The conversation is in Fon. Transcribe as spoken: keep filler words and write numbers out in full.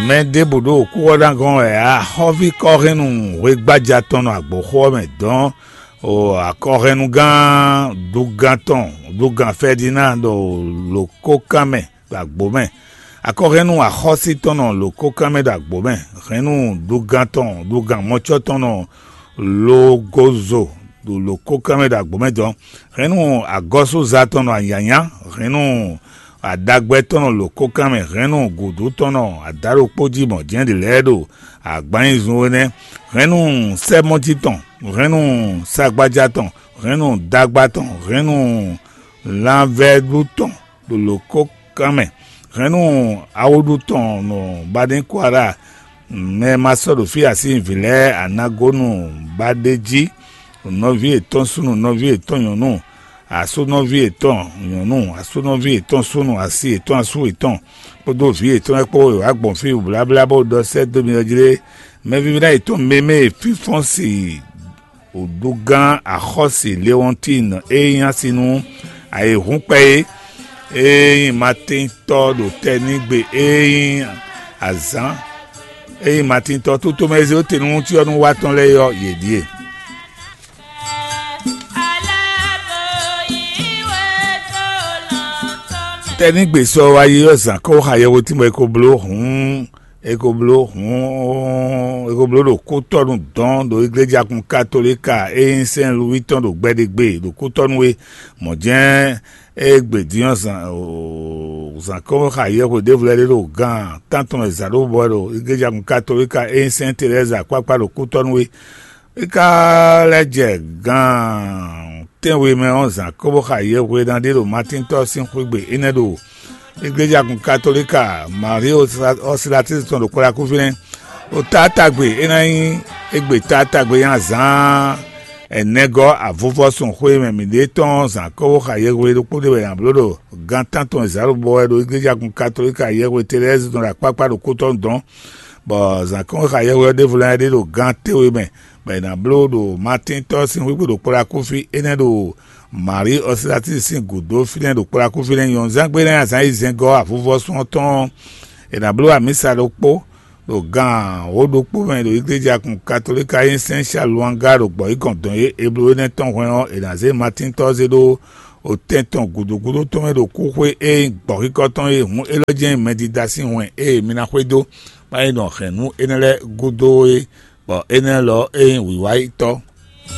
Mɛ ɖěbǔ ɖo kúxɔ́dangɔ́n wɛ ǎ. Xɔ́ví kɔ́hɛ́nnu hwegbája tɔn nɔ agbǒxó ɔ́ mɛ dɔn. O akɔhɛnnugán dugán tɔn, dugán Fɛdinand ɖo lǒkókan mɛ ɖo agbǒ mɛ. Akɔhɛnnu axɔ́sí tɔn nɔ lǒkókan mɛ ɖo agbǒ mɛ. Hɛnnu dugán tɔn, dugán mɔcɔ́ tɔn nɔ logozo ɖo lǒkókan mɛ ɖo agbǒ mɛ dɔn. Hɛnnu agɔ́súza tɔn nɔ anyǎnyá. Hɛnnu aɖagbɛ tɔn nɔ lǒkókan mɛ. Hɛnnu gǔdú tɔn nɔ adáɖokpó jí mɔ̌ jɛ́n ɖě lɛ́ɛ ɖo agbanyizun énɛ́. Hɛnnu sɛ́mɔjí tɔn, hɛnnu sagbaja tɔn, hɛnnu dagba tɔn, hɛnnu lanvɛ́ɖu tɔn ɖo lǒkókan mɛ. Hɛnnu awúɖu tɔn nɔ Baɖinkwara, mɛ ma sɔ́ ɖo fí así vǐ lɛ́ɛ anagonu ba ɖ'é jí, nɔví yětɔn súnnu, nɔví yětɔn nyɔ̌nu, asúnɔví yětɔn nyɔ̌nu, asúnɔví yětɔn súnnu, asi yětɔn asú yětɔn, kpódó vǐ yětɔn lɛ́ɛ kpó, yě wá gbɔn fí bláblá bó ɖɔ sɛ́ dó mi ɔ́ jlé. Mɛvívɛ́ná yětɔn mémé fínfɔ́n si wǔɖúgán axɔ́si Lewɔntín e nyí asi nú ayǐhúnkpɛ é, e nyí Matíntɔ́ ɖo tɛnígbe e nyí azǎn, e nyí Matíntɔ́ tótomɛ e zé dó te nú cyɔ́núwatɔ́ lɛ́ɛ é ɔ́, yě ɖíe. Tɛnígbe sɔ wá yi ɔ́, zǎn kɔ́ xá yɛhwetín bɔ è ko bló hǔn, è ko bló hǔn, è ko bló ɖo kútɔ́nu dɔn ɖo iglejakun katolíka e nyí Sɛn Luwí tɔn ɖo gbɛɖegbe ɖo kútɔ́nu é. Mɔ̌ jɛ́n é gbe din ɔ́, zǎn zǎn kɔ́ xá yɛhwe ɖěvo lɛ́ɛ ɖé ɖo gan tántɔn mɛ zǎn ɖó bɔ ɖo iglejakun katolíka e nyí Sɛn Telɛ́zi akpákpá ɖo kútɔ́nu é. É ka lɛ́ jɛ gan tɛ́nwe mɛ ɔ́, zǎn kóbó xa yɛhweɖán ɖé ɖo Matíntɔ́ sín xwé gbe énɛ́ ɖo iglejakun katolíka Marie Ɔsilatisi tɔn ɖo Kplakúfínɛ́. Ɖo taátagbe é ná nyí égbé taátagbe nyí azǎn ɛnɛgɔ́ avuvɔ́sun xwé mɛ mǐɖée tɔn ɔ́, zǎn kóbó xa yɛhwe ɖokpó ɖé wɛ è nǎ bló ɖo gan tántɔn e zǎn ɖo bɔ wɛ ɖo iglejakun katolíka yɛhwe Telɛ́zi tɔn ɖo akpákpá ɖo kútɔ́nu dɔn, bɔ zǎn kóbó xa yɛhwe ɔ́ ɖěvo lɛ́ɛ ɖé ɖo gan tɛ́nwe mɛ. Bɔ è nǎ bló ɖo Matíntɔ́ sín xwígbe ɖo Kplakúfí énɛ́ ɖo Marí Ɔsilatisi sín gǔdo fínɛ́ ɖo Kplakúfí lɛ́ɛ nyɔ̌nuzángbe lɛ́ɛ azǎn e zɛngɔ́ avuvɔ́sún ɔ́ tɔn ɔ́, è nǎ bló amǐsa ɖokpó ɖo gan wǒ ɖokpó mɛ ɖo iglejakun katolíka e nyí Sɛn Saluanga ɖo gbɔ̌yǐgɔn dɔn e è bló énɛ́ tɔn hwɛ́n ɔ́, è nǎ zé Matíntɔ́ zé ɖó otɛn tɔn gǔdo gúdo tɔn mɛ ɖo kúxwé e nyí gbɔ̌xíkɔ tɔn e hǔn élɔ́ jɛ́n nyí mɛdídá sín hwɛn e mi ná xwedó, bó ná yi nɔ hɛ̌nnu énɛ́ lɛ́ɛ gúdo é, bɔ énɛ́ lɔ é nyí wǐwáyítɔ́.